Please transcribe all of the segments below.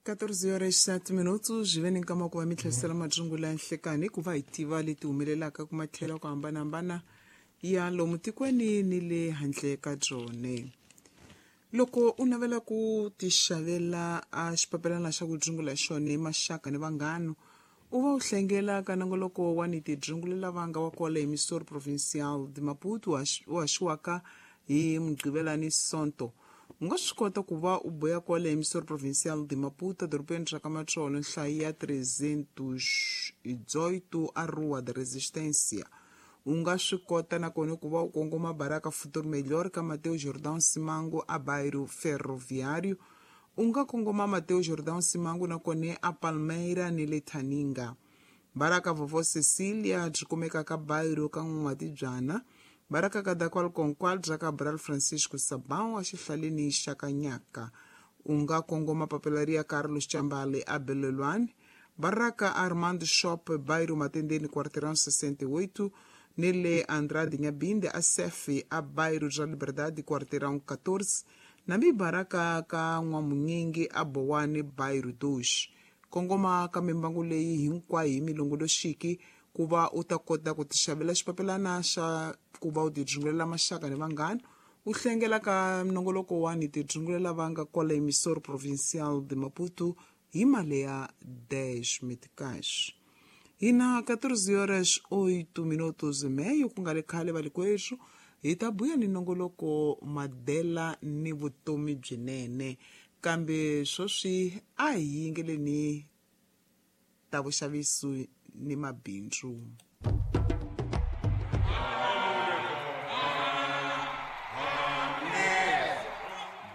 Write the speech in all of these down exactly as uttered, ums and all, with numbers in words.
quatorze horas sete minutos veni nkama ku va mi tlherisela madzungula ya nhlekani ku va hi tiva leti humelelaka ku matlhelo ku hambanahambana ya lomu tikweni ni le handle ka byone. Loko u navela ku tixavela a xipapelana xa ku dzungula xona hi maxaka ni vanghana, u va u hlengela ka nongoloko wa ni tidzungulela vanga wa kwala emissor provincial de Maputo u haxiwaka hi Mugqivela ni Sonto. U nga swi kota ku va u boya kwala emissor provincial de Maputo dorobeni ra ka Matsolo nhlayo ya trezentos e dezoito a Rua da Resistência. U nga swi kota nakona ku va u kongoma Baraka Futuro Melhor ka Mateo Jordão Simango a Bairro Ferroviário. U nga kongoma Mateo Jordão Simango nakona a Palmeira ni le Thaninga. Baraka Vovó Cecília byi kumeka ka Bairro ka N'watibyana. Baraka ka Dakwal Konkwal bya Cabral Francisco Sabão a xihlaleni xa Kanyaka. U nga kongoma Papelaria Carlos Chambale a Belelwane. Baraka Armando Shop Bairro Matendeni Quarteirão sessenta e oito nele Andrade Nhabinde a Sef a Bairro ja Liberdade Quarteirão quatorze nambi Baraka ka N'wamunyingi a Bowane Bairro dois. Kongoma ka mimbangu leyi hinkwayo hi milongoloxiki ku va u ta kota ku tixavela xipapelana xa ku va u tidzungulela maxaka ni vanghana. U hlengela ka nongoloko wa ni tidzungulela vanga kwala emissor provincial de Maputo hi mali ya dez meticais. Hina quatorze horas oito minutos e meio ku nga le khale valikwerhu hi ta buya ni nongoloko madela ni vutomi byinene, kambe sweswi a hi yingeleni ta vuxavisi ni mabindzu.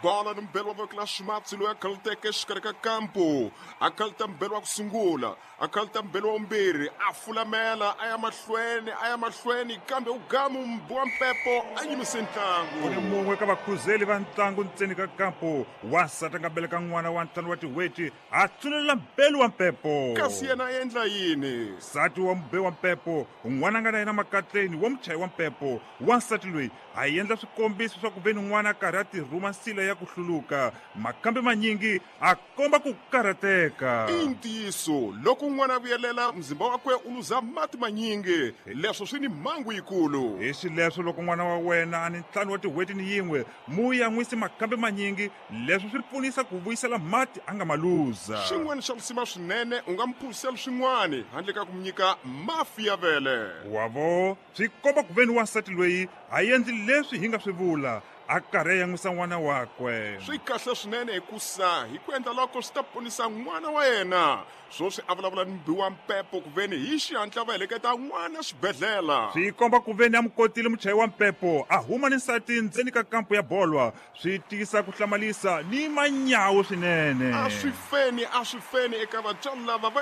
Bola ni mbelo wa voko la ximatsi loyi a khaluteke exikarhi ka kampo, a khaluta mbelo wa ku sungula, a khaluta mbelo wa vumbirhi, a fulamela a ya mahlweni a ya mahlweni, kambe u gamu mbu wa mpepo a yimise ntlangu. U ni mun'we ka vakhuzeli va ntlangu ntseni ka kampo, wansati a nga beleka n'wana wa ntlhanu wa tin'hweti a tsunelela mbelo wa mpepo. Kasi yena a endla yini? Nsati wa mube wa mpepo, n'wana a nga na yena makatleni wa muchayi wa mpepo. Wansati loyi a endla swikombiso swa ku ve ni n'wana a karhi a tirhuma nsila ya ku hluluka, makambe manyingi a komba ku karhateka. I ntiyiso, loko n'wana a vuyelela mzimba wakwe u luza mati manyingi, leswo swi ni mhangu yikulu. Hi xileswo loko n'wana wa wena a ni ntlhanu wa tin'hweti ni yin'we, mu yan'wisi makambe manyingi, leswo swi pfunisa ku vuyisela mati a nga ma luza. Xin'wana xa risima swinene, u nga mu phuzisela swin'wana handle ka ku mu nyika mafi ya vele. Wavo swi komba ku ve ni wansati loyi a endli leswi hi nga swi vula, a karhi a yan'wisa n'wana wakwe. Swi kahle swinene hikusa hi ku endla loko swi ta ponisa n'wana wa yena. Sweswi a vulavula ni mbi wa mpepo ku veni hi xihatla va heleketa n'wana xibedhlele. Swi komba ku veni a mu kotile muchayi wa mpepo a huma ni nsati ndzeni ka kampo ya bolwa. Swi tisa ku hlamalisa ni manyawu swinene. A swi feni, a swi feni eka vatswari lava va